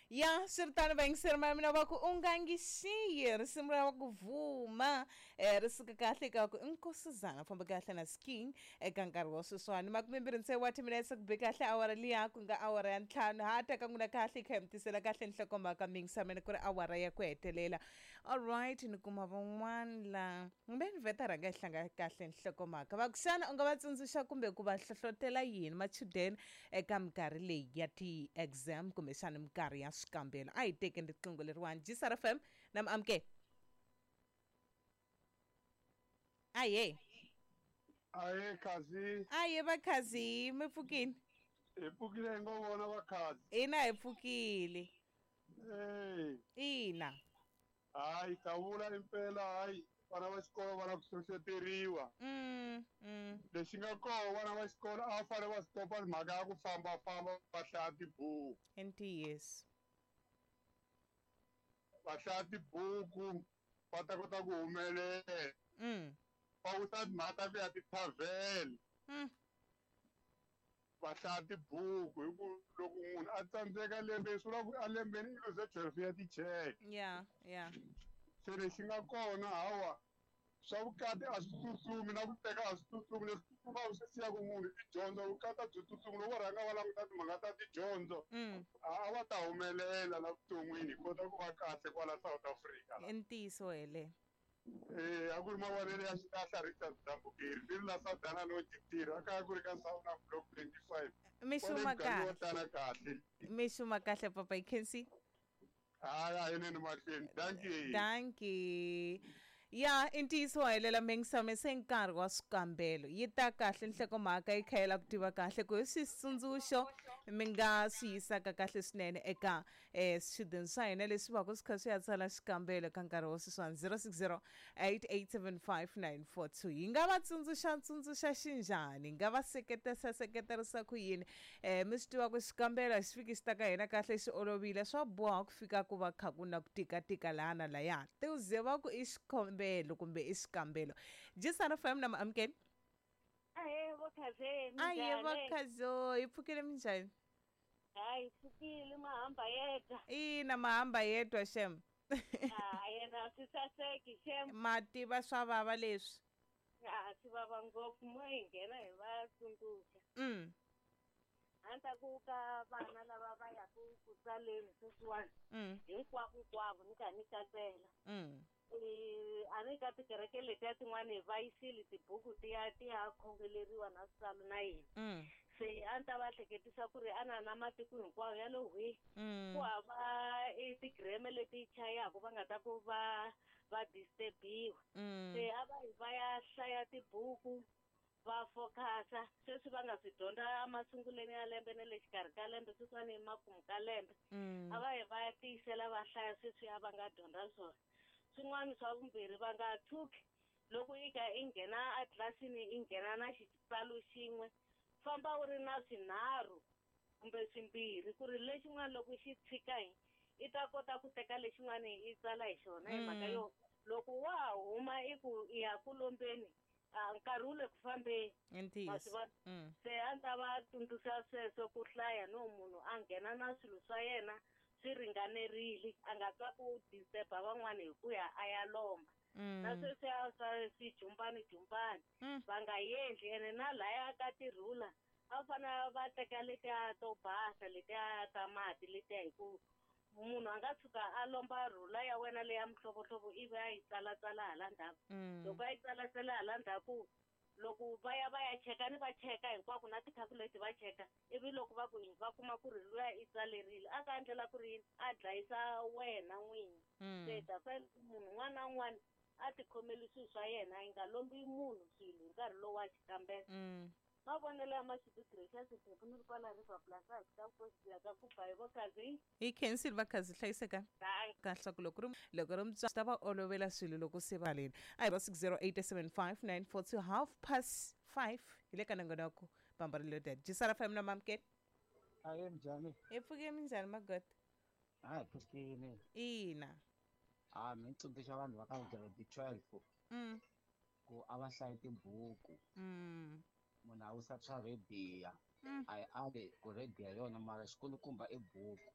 Ya swiritano vayingiseri ma mina va ku u nga ngi xiyi risimu ra ku vuma ri suka kahle ka ku Nkosazana famba kahle na Sking eka nkarhi wa sweswiwani 26 wa timinetse ku be kahle awara liya ku nga awara ya 5 ha ta ka n'wina kahle kha hi mi tisela kahle nhlokomhaka mingisa mina ku ri awara ya ku hetelela. Alright, ni kuma van'wana la kumbe ni vheta rhanga hi hlanga kahle nhlokomhaka va ku xana u nga va tsundzuxa kumbe ku va hlohlotela yini machudeni eka minkarhi leyi ya ti-exam kumbexana minkarhi ya swikambelo? A hi tekeni riqingho leriwani. Gsr FM na mi amukela. Aye. Aye Khazi. Aye Vakhazi, mi pfukile? Hi pfukile hi ngo vona Vakhazi. Ina hi pfukile. Hey. Ina. Hayi ta vula impela hayi vana va xikolo va na ku hlohloteriwa. Lexi nga koho vana va xikolo a va fanele va stopa mhaka ya ku fambafamba va hlaya tibuku. I ntiyiso. Va hlaya tibuku va ta kota ku humelela. Va wisa timhaka ta ku ya ti-tavern. Va hlaya tibuku hi ku loko munhu a tsandzeka lembeni swi vula ku a lembeni i luze 12 ya ticheke. Yeah, yeah. Se lexi nga kona hawa swa vukati a swi tsutsumi na ku teka a swi tsutsumi, leswi tsutsumaka swi siyaka munhu i dyondzo. Vukati a byi tsutsumi, loko va rhanga va languta timhaka ta tidyondzo a va ta humelela la vuton'wini hi kota ku va kahle kwala South Africa la. I ntiyiso hele. A ku ri mavonelo ya xilahla Richard Dambukeri ni ri la Sadana Lodge tirha kaya ku ri ka Sauna Block 25. Mi xuma kahle. Kahle. Kahle. Mi xuma kahle papa hi khensi. Hayi a yineni mahlweni. Dankie. Dankie. Ya i ntiyiso wa helela mengisame se nkarhi wa swikambelo yi ta kahle nhlokomhaka yi kha yi la ku tiva kahle ku hi switsundzuxo mi nga swi yisaka kahle swinene eka swichudeni swa hina leswi va ku swi kha swi ya tsala xikambelo ka nkarhi wa sweswiwani 060 8875942 hi nga va tsundzuxa tsundzuxa xinjhani hi nga va seketesa seketerisa ku yini mi swi tiva ku xikambelo a xi fiki xi ta ka hina kahle xi olovile swa boha ku fika ku va kha ku na ku tikatika laha na laya ti ze va ku i xikombelo kumbe i xikambelo. Jisana FM na maamukeli. Ahe Vakhaze, Aye minjhani? Vakhazo, hi pfukile minjhani? Hayi pfukile mahamba yedwa. Ina mahamba yedwa shem. Ah, yena swi saseki shem. Ma tiva swa vava leswi. Ah, swi vava ngopfu mo hi nghena hi va tsundzuxa. A ni ta ku ka vana lava va yaka ku tsaleni sweswiwani hinkwavo hinkwavo ni kha ni katsela. A ni ka tikereke letiya tin'wani va yisile tibuku ti ya ti ya khongeleriwa na switsalo na yini. Se a ni ta va hleketisa ku ri a na na matiko hinkwawo ya lo hwi ku hava i tigreme leti chayaka va nga ta ku va va disturbiwa. Se a va yi va ya hlaya tibuku va focusa sweswi va nga swi dyondza emasungulweni ya lembe na le xikarhi ka lembe sweswiwani emakumu ka lembe a va yi va ya tiyisela va hlaya sweswi a va nga dyondza swona. Swin'wana swa vumbirhi va nga tshuki loko i kha i nghena etlilasini i nghena na xitsalo xin'we famba u ri na swinharhu kumbe swimbirhi ku ri lexin'wana loko xi tshika hi i ta kota ku teka lexin'wana i tsala hi xona hi mhaka yo loko wa ha huma i ku i ya ku lombeni nkarhi wu le ku fambeni. I ntiyiso. Se a ni ta va tsundzuxa sweswo ku hlaya no munhu a nghena na swilo swa yena swi ringanerile a nga twa ku disturba van'wani hi ku ya a ya lomba. Na sweswiya swa swijumpani jumpani va nga endli ene na laya ka tirhula a fanele va teka letiya to basa letiya ta mati letiya hi ku munhu a nga tshuka a lomba rhula ya wena leya mihlovohlovo ivi a yi tsalatsala hala ndzhaku. Loko a yi tsalatsala hala ndzhaku loko va ya va ya cheka ni va cheka hinkwako na ti-calculate va cheka ivi loko va ku va kuma ku ri luya i tsalerile a ka endlela ku ri yini a dlayisa wena n'winyi. Se ta fanele munhu un'wana na un'wana a tikhomeli swilo swa yena yi nga lombi munhu swilo hi nkarhi lowu wa xikambelo. Mavonelo ya Mashudu Gracious Phephu ni ri kwala River Plaza hi ta ku ya ka ku ba hi Vakhazi. Hi khensile Vakhazi hlayiseka. Kahle ku loko ri loko ri mutswari ta va olovela swilo loko se va leni. A hi 60875942 5:30 hi le ka nongonoko Bamba Reloaded. Jisara FM na Mamkeli. Aye njhani? Hi pfuke minjhani Magoda? Hayi pfukile. Ina. Ah, mi tsundzuxa vanhu va ka grade 12 ku a va hlayi tibuku. Munhu a wisa swa rhediya. A yi ali ku rhediya yona mara xikulukumba i buku.